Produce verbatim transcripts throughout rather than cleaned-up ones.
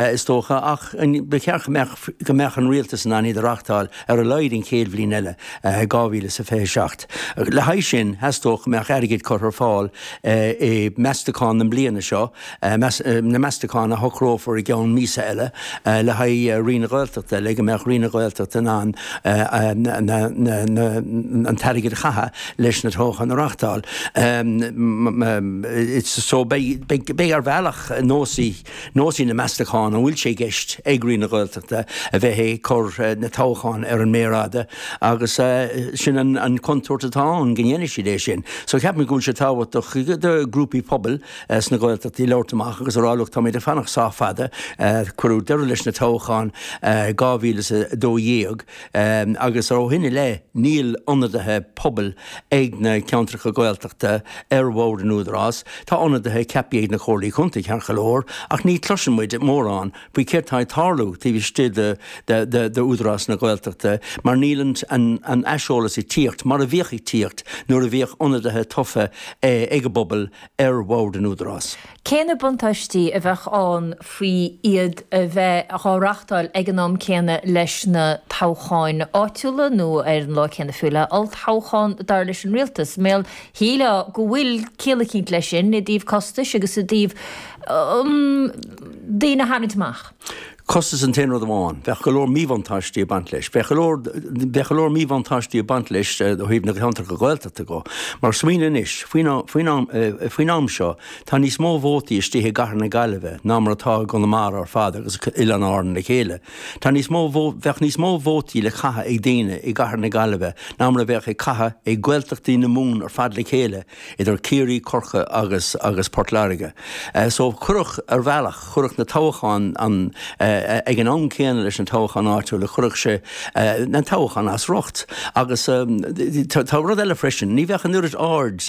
Is dócha, ach ba cheart go mbeadh go mbeadh an rialtas in ann iad a reachtáil ar a laghad an chéad bhliain eile, dhá mhíle is a fiche seacht. Le haghaidh sin, theastódh go mbeadh airgead curtha ar fáil i meastachán na bliana seo, na meastacháin a shocrófar i gceann míosa eile, le haghaidh Roinn na Gaeltachta, le go mbeadh Roinn na Gaeltachta in ann an t-airgead a chaitheamh leis na toghcháin a reachtáil. So beidh beidh ar bhealach nósaí nósaí na meastachán, an bhfuil sé i gceist ag Roinn na Gaeltachta a bheith ag cur na toghcháin ar an méar fhada agus sin an chontúirt atá ann go ndéanfaidh siad é sin. So ceapaim go bhfuil sé tábhachtach do ghrúpaí pobail sna Gaeltachtaí labhairt amach agus a rá look táimid ag fanacht sách fada, cuireadh deireadh leis na toghcháin dhá mhíle is a dó dhéag agus ó shin i leith níl ionadaithe pobail ag na ceantracha Gaeltachta ar bhord an Údarás. Tá ionadaithe ceaptha ag na Comhairlí Contae ceart go leor ach ní chloiseann muid mórán faoi céard atá ag tarlú taobh istigh d'Údarás na Gaeltachta mar níl an aiseolas ag tíocht mar a bhíodh ag tíocht nuair a bhíodh ionadaithe tofa ag an bpobal ar bhord an Údarás. Cé na buntáistí a bheadh ann faoi iad a bheith á reachtáil ag an am céanna leis na toghcháin áitiúla nó ar an lá céanna fiú le olltoghchán dar leis an rialtas? Mar shílfeá go bhfuil ciall eicínt leis sin i dtaobh costais agus i dtaobh daoine a tharraingt amach. Costas an t-aon rud amháin. Bheadh go leor míbhuntáistí ag baint leis. Bheadh go leor, bheadh go leor míbhuntáistí ag baint leis ó thaobh na gceantracha Gaeltachta go. Mar smaoinigh anois, faoin, faoin am, faoin am seo, tá níos mó vótaí istigh i gcathair na Gaillimhe ná mar atá i gConamara ar fad agus Oileáin Árann le chéile. Tá níos mó, bheadh níos mó vótaí le caitheamh ag daoine i gcathair na Gaillimhe ná mar a bheadh ag caitheamh ag Gaeltachtaí na Mumhan ar fad le chéile, idir Ciarraí, Corcaigh agus, agus Port Láirge. So chuirfeadh, ar bhealach, chuirfeadh na toghcháin an, ag an am céanna leis na toghcháin áitiúla, chuirfeadh sé na toghcháin as riocht. Agus tá rud eile freisin, ní bheadh an oiread aird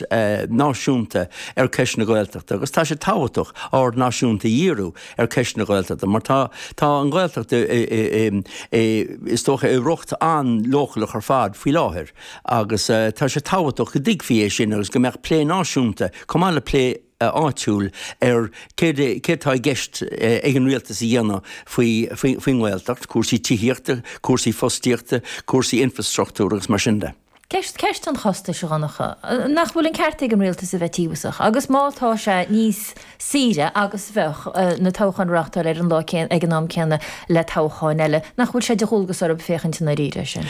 náisiúnta ar cheist na Gaeltachta agus tá sé tábhachtach aird náisiúnta a dhíriú ar cheist na Gaeltachta mar tá tá an Ghaeltacht is dócha i riocht an-leochaileach ar fad faoi láthair agus tá sé tábhachtach go dtuigfí é sin agus go mbeadh plé náisiúnta chomh maith le plé áitiúil ar céard céard atá i gceist ag an rialtas a dhéanamh faoi faoin nGaeltacht, cúrsaí tithíochta, cúrsaí fostaíochta, cúrsaí infreastruchtúir agus mar sin de. Ceist, ceist an chostais, a Dhonncha. Nach bhfuil an ceart ag an rialtas a bheith tíobhasach? Agus má tá sé níos saoire agus bheadh na toghcháin a reáchtáil ar an lá céanna, ag an am céanna le toghcháin eile, nach bhfuil sé de dhualgas orthu féachaint i ndáiríre air sin?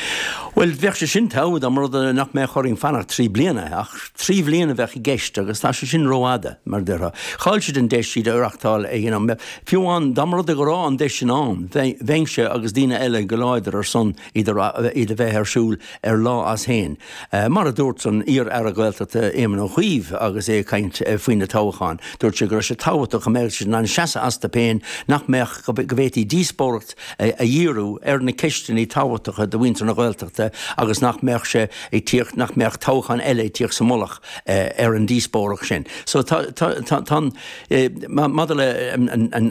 Bhuel, bheadh sé sin togha dá mba rud é nach mbeadh orainn fanacht trí bliana, ach trí bhliana a bheadh i gceist agus tá sé sin rófhada, mar a déarfá. Chaill siad an deis iad a reáchtáil ag an am. Fiú amháin dá mba rud é go raibh an deis sin ann, bheinnse agus daoine eile go láidir ar son iad a bheith ar siúl ar lá as féin. Mar a dúirt an iar-aire Gaeltachta Éamon Ó Cuív agus é ag caint faoi na toghcháin, dúirt sé go raibh sé tábhachtach go mbeadh siad in ann seasamh astu féin, nach mbeadh, go bhféadfaí díospóireacht a dhíriú ar na ceisteanna tábhachtacha do mhuintir na Gaeltachta agus nach mbeadh sé ag tíocht, nach mbeadh toghchán eile ag tíocht sa mullach ar an díospóireacht sin. So tá, tá, tá, tá an, maidir le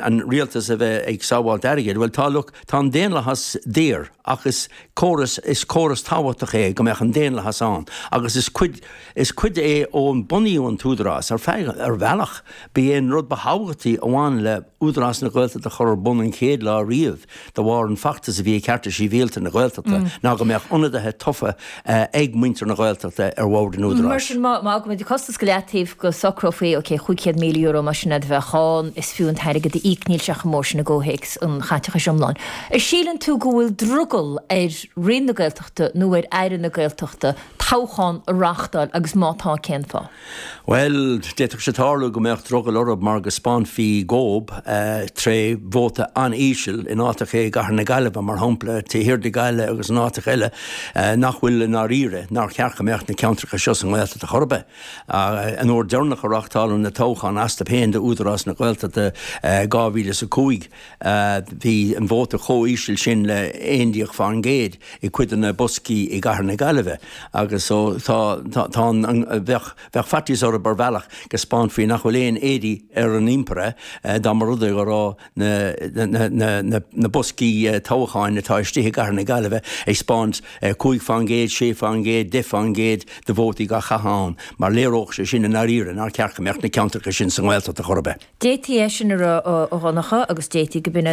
an rialtas a bheith ag sábháilt airgid, bhuel tá, look, tá an daonlathas daor ach is córas, is córas tábhachtach é go mbeadh an daonlathas ann agus is cuid, is cuid é ó bunaíodh an tÚdarás, ar feadh, ar bhealach, ba é an rud ba thábhachtaí a bhain le Údarás na Gaeltachta a chur ar bun an chéad lá riamh de bharr an feachtas a bhí ag Cearta Sibhialta na Gaeltachta ná go mbeadh ionadaithe tofa ag muintir na Gaeltachta ar bhord an Mar Údaráis. sin, má fhágaimid an costas go leataobh go socrófaí, ok, chúig chéad míle euro mar sin a bheadh ann, is fiú an t-airgead a íoc, níl sé chomh mór sin i gcomhthéacs an chaiteachais iomláin. An síleann tú go bhfuil drogall ar Roinn na Gaeltachta nó ar Aire na Gaeltachta toghchán a reáchtáil agus má tá, cén fáth? Bhuel, d'fhéadfadh sé tarlú go mbeadh drogall orthu mar go spáinfí dhób tré vóta an-íseal in áiteacha i gcathair na Gaillimhe, mar shampla, taobh thiar de Ghaillimh agus in áiteacha eile nach bhfuil i ndáiríre, nár cheart go mbeadh na ceantracha seo sa nGaeltacht ar chor ar bith. An uair deireanach a reáchtáladh na toghcháin astu féin d'Údarás na Gaeltachta, dhá mhíle is a cúig, Bhí an vóta chomh íseal sin le aon déag fán gcéad i cuid de na boscaí i gcathair na Gaillimhe agus So tá tá tá an bheadh bheadh faitíos orthu ar bhealach go spáinfí nach bhfuil aon éadaí ar an impire dá mba rud é go raibh na na na na na boscaí toghcháin atá istigh i gCathair na Gaillimhe ag spáint cúig faoin gcéad, sé faoin gcéad, deich faoin gcéad de vótaí á gcaitheamh ann, mar léireodh sé sin i ndáiríre nár cheart go mbeadh na ceantracha sin sa nGaeltacht ar chor ar bith. D'fhéadfaí é sin a rá a Dhonncha agus d'fhéadfaí go b'in